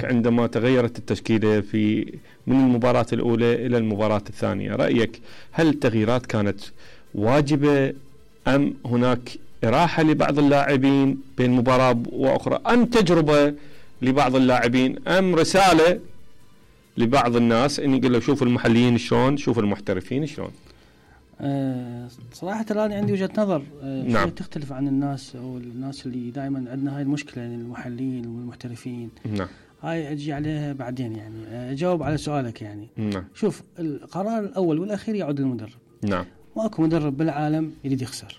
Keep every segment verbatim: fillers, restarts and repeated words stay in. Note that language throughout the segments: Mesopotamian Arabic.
عندما تغيرت التشكيلة في من المباراة الأولى إلى المباراة الثانية، رأيك هل التغييرات كانت واجبة أم هناك إراحة لبعض اللاعبين بين مباراة وأخرى، أم تجربة لبعض اللاعبين، أم رسالة لبعض الناس إن يقول له شوفوا المحليين شلون، شوفوا المحترفين شلون؟ أه صراحة الآن عندي وجهة نظر أه نعم. تختلف عن الناس أو الناس اللي دائما عندنا هاي المشكلة يعني المحليين والمحترفين. نعم. هاي أجي عليها بعدين يعني أجاوب على سؤالك يعني. نعم. شوف القرار الأول والأخير يعود للمدرب. نعم. ماكو مدرب بالعالم يريد يخسر.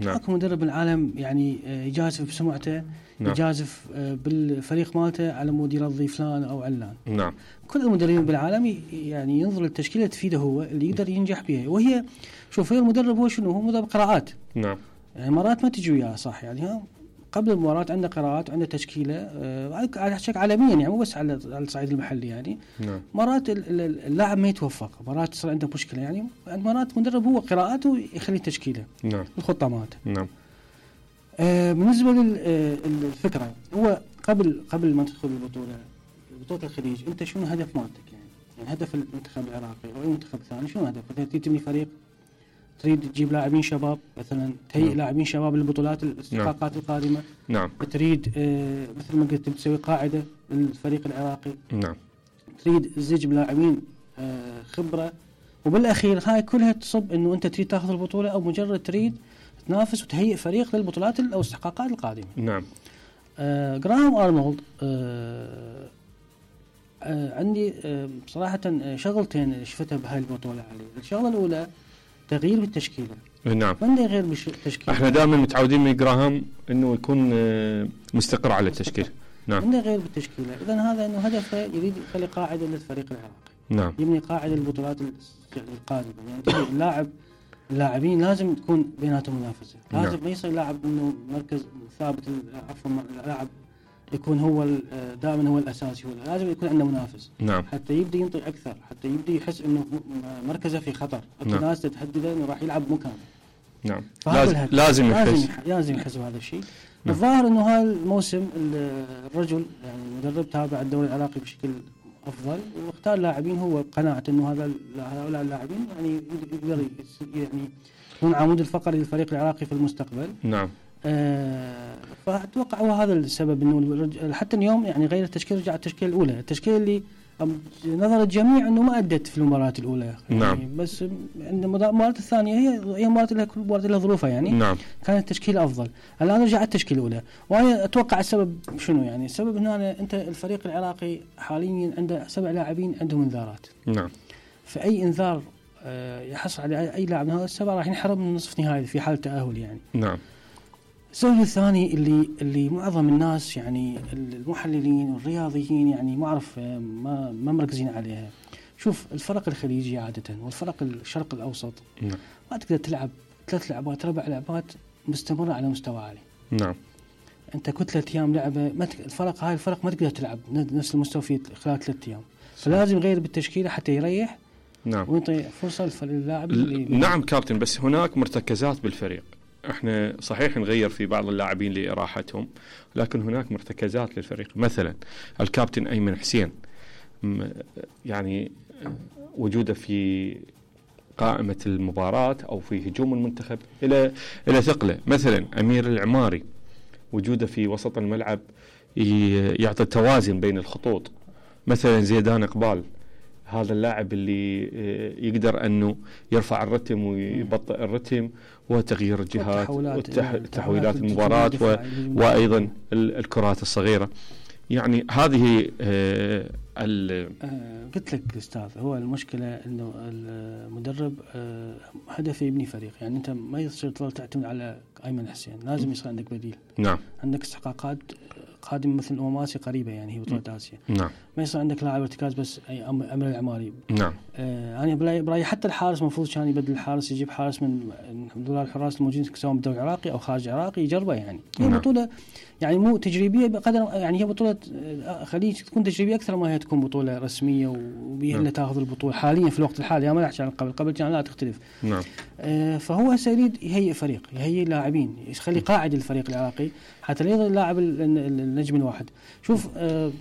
نعم. ماكو مدرب بالعالم يعني يجازف بسمعته. نعم. يجازف بالفريق مالته على مود يرضي فلان أو علان. نعم. كل المدربين بالعالم يعني ينظر للتشكيلة تفيده هو اللي يقدر ينجح بها، وهي شوف هي المدرب هو شنو، هو مدرب قراءات. نعم. يعني مرات ما تجي وياه صح يعني ها قبل المباراة عنده قراءات وعنده تشكيلة آه على شكل عالميا يعني مو بس على الصعيد المحلي يعني. نعم. مرات اللاعب ما يتوفق، مرات تصير عنده مشكلة يعني، مرات مدرب هو قراءاته يخلي تشكيلة. نعم. الخطة مالته. نعم. آه بالنسبة للفكرة هو قبل قبل ما تدخل البطولة بطولة الخليج أنت شنو هدف مالتك يعني؟ يعني هدف المنتخب العراقي أو المنتخب الثاني شنو هدفك؟ أنت تبني فريق، تريد تجيب لاعبين شباب مثلا، تهيئ نعم. لاعبين شباب للبطولات الاستحقاقات نعم. القادمة. نعم. تريد آه مثل ما قلت تسوي قاعدة للفريق العراقي. نعم. تريد تزج بلاعبين آه خبرة، وبالأخير هاي كلها تصب إنه أنت تريد تأخذ البطولة أو مجرد تريد تنافس وتهيئ فريق للبطولات أو الاستحقاقات القادمة. نعم. آه جراهام أرنولد آه آه عندي آه صراحة شغلتين شفتها بهاي البطولة عليه. الشغلة الأولى تغيير بالتشكيلة. نعم. من يغير بالتشكيلة؟ احنا دائما متعودين من جراهام انه يكون مستقر على التشكيل. نعم. من يغير بالتشكيلة، إذن هذا انه هدفه يريد يخلي قاعدة للفريق العراقي. نعم. يبني قاعدة للبطولات القادمة يعني اللاعب اللاعبين لازم تكون بيناتهم منافسة. لازم نعم. ما يصير لاعب انه مركز ثابت، عفوا لاعب يكون هو دائما هو الاساسي، هو لازم يكون عنده منافس. نعم. حتى يبدي ينطي اكثر، حتى يبدي يحس انه مركزه في خطر، نعم. الناس تتهدده انه راح يلعب مكانه. نعم. لازم لازم يحس لازم يحس بهذا الشيء. نعم. الظاهر انه هذا الموسم الرجل يعني مدرب تابع الدوري العراقي بشكل افضل، واختار لاعبين هو بقناعه انه هذا هؤلاء اللاعبين يعني يقدر يعني يكون عمود الفقري للفريق العراقي في المستقبل. نعم. آه فأتوقع هو هذا السبب انه حتى اليوم يعني غير التشكيل، رجع التشكيل الاولى، التشكيل اللي نظر الجميع انه ما ادت في المباراه الاولى. نعم. يعني بس عند المباراه الثانيه هي هي مباراه لها كل مباراه لها ظروفها يعني. نعم. كان التشكيل افضل. الان رجع التشكيل الاولى، وانا اتوقع السبب شنو يعني؟ السبب هنا انت الفريق العراقي حاليا عنده سبع لاعبين عندهم انذارات. نعم. فاي انذار يحصل على اي لاعب من هذا السبعه راح ينحرم من نصف نهائي في حال تاهل يعني. نعم. السبب الثاني اللي اللي معظم الناس يعني المحللين والرياضيين يعني ما اعرف ما ما مركزين عليها. شوف الفرق الخليجي عاده والفرق الشرق الاوسط نعم. ما تقدر تلعب ثلاث لعبات ربع لعبات مستمره على مستوى عالي. نعم. انت كتله ايام لعبه ما تك... الفرق هاي الفرق ما تقدر تلعب نفس المستوى في خلال ثلاث ايام، فلازم يغير بالتشكيله حتى يريح. نعم. ويعطي فرصه للاعب اللي نعم كابتن، بس هناك مرتكزات بالفريق. احنا صحيح نغير في بعض اللاعبين لإراحتهم، لكن هناك مرتكزات للفريق. مثلا الكابتن أيمن حسين يعني وجوده في قائمة المباراة أو في هجوم المنتخب إلى إلى ثقله. مثلا أمير العماري وجوده في وسط الملعب يعطي توازن بين الخطوط. مثلا زيدان إقبال هذا اللاعب اللي يقدر أنه يرفع الرتم ويبطئ الرتم وتغيير الجهات وتحويلات المباراة وأيضا الكرات الصغيرة. يعني هذه آه آه قلت لك أستاذ، هو المشكلة إنه المدرب آه هدفه يبني فريق. يعني أنت ما يصير تعتمد على أيمن حسين، لازم يصير عندك بديل. نعم. عندك استحقاقات قادمة مثل الأمم آسيا قريبة يعني هي بطولة آسيا. نعم. ما يصير عندك لاعب ارتكاز بس أي أمر العماري. نعم. آه أنا برايي برايي حتى الحارس مفروض كان يبدل الحارس، يجيب حارس من دول الحراس الموجودين سواء بالدوري العراقي أو خارج العراقي يجربه يعني. هي نعم. بطولة يعني مو تجريبية بقدر يعني هي بطولة خليج تكون تجريبية أكثر ما هي تكون بطولة رسمية وبيها اللي تأخذ البطولة حاليا في الوقت الحالي. ما أحكي عن قبل قبل كان لا تختلف. نعم. آه فهو سيريد يهيئ فريق، يهيئ لاعبين، يخلي قاعدة الفريق العراقي حتى لا يظل اللاعب النجم الواحد. شوف آه